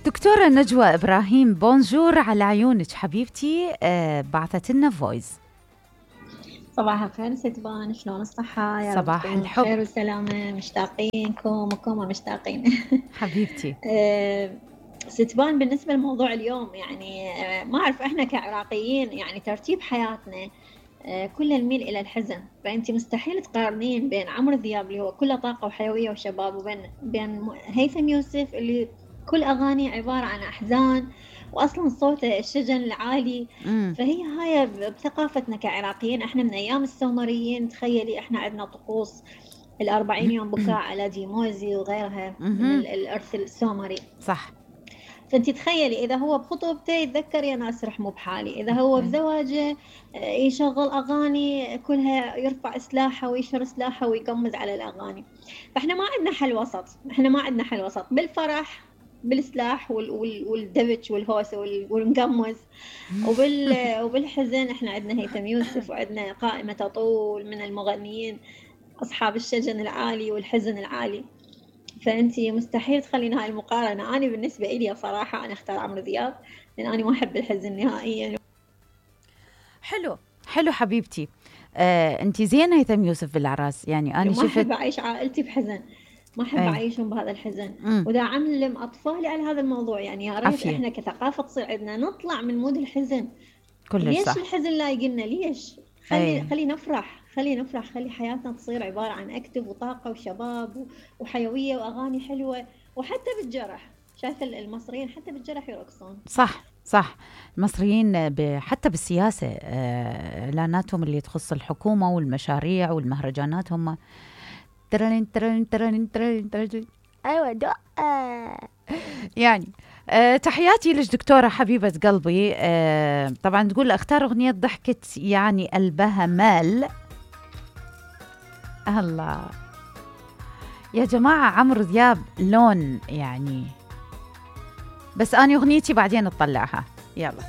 دكتورة نجوى إبراهيم، بونجور على عيونك حبيبتي. بعثت لنا فويس. صباح الخير ستبان، شلون الصحة؟ يا رب صباح تكونوا الحب. بخير وسلامة، مشتاقينكم وكم مشتاقين. حبيبتي. ستبان، بالنسبة لموضوع اليوم يعني ما أعرف، إحنا كعراقيين يعني ترتيب حياتنا كله نميل إلى الحزن، فأنت مستحيل تقارنين بين عمرو دياب اللي هو كله طاقة وحيوية وشباب وبين هيثم يوسف اللي كل أغاني عبارة عن أحزان، وأصلا صوته الشجن العالي. فهي هاي بثقافتنا كعراقيين، إحنا من أيام السومريين تخيلي إحنا عندنا طقوس ال40 يوم بكاء على ديموزي وغيرها من الإرث السومري. صح. فانت تخيلي اذا هو بخطوبته يتذكر يا ناس رحموا بحالي، اذا هو بزواجه يشغل اغاني كلها يرفع سلاحه ويشر سلاحه ويقمز على الاغاني. فاحنا ما عندنا حل وسط، احنا ما عندنا حل وسط بالفرح بالسلاح والدبج والهوسه والمقمز، وبالحزن احنا عندنا هيثم يوسف، وعندنا قائمه تطول من المغنيين اصحاب الشجن العالي والحزن العالي. فأنتي مستحيل تخلين هاي المقارنة. أنا بالنسبة إلي صراحة أنا أختار عمرو دياب، لأن أنا ما أحب الحزن نهائيا. حلو حبيبتي. أنتي زين هيثم يوسف بالعراس، يعني أنا ما أحب أعيش عائلتي بحزن، ما أحب أعيشهم بهذا الحزن. ودا علم أطفالي على هذا الموضوع، يعني يا ريت إحنا كثقافة تصير عندنا نطلع من مود الحزن. ليش صح. الحزن لا يقلنا؟ ليش؟ خلي نفرح، خلي حياتنا تصير عبارة عن أكتف وطاقة وشباب وحيوية وأغاني حلوة. وحتى بالجرح، شايفة المصريين حتى بالجرح يرقصون. صح. المصريين حتى بالسياسة، إعلاناتهم اللي تخص الحكومة والمشاريع والمهرجانات هم ترلين ترلين ترلين ترلين ترلين. أيوة يعني تحياتي لك دكتورة حبيبة قلبي. طبعا تقول اختار أغنية ضحكت يعني قلبها مال. الله يا جماعة، عمرو دياب لون يعني، بس أنا أغنيتي بعدين أطلعها. يلا.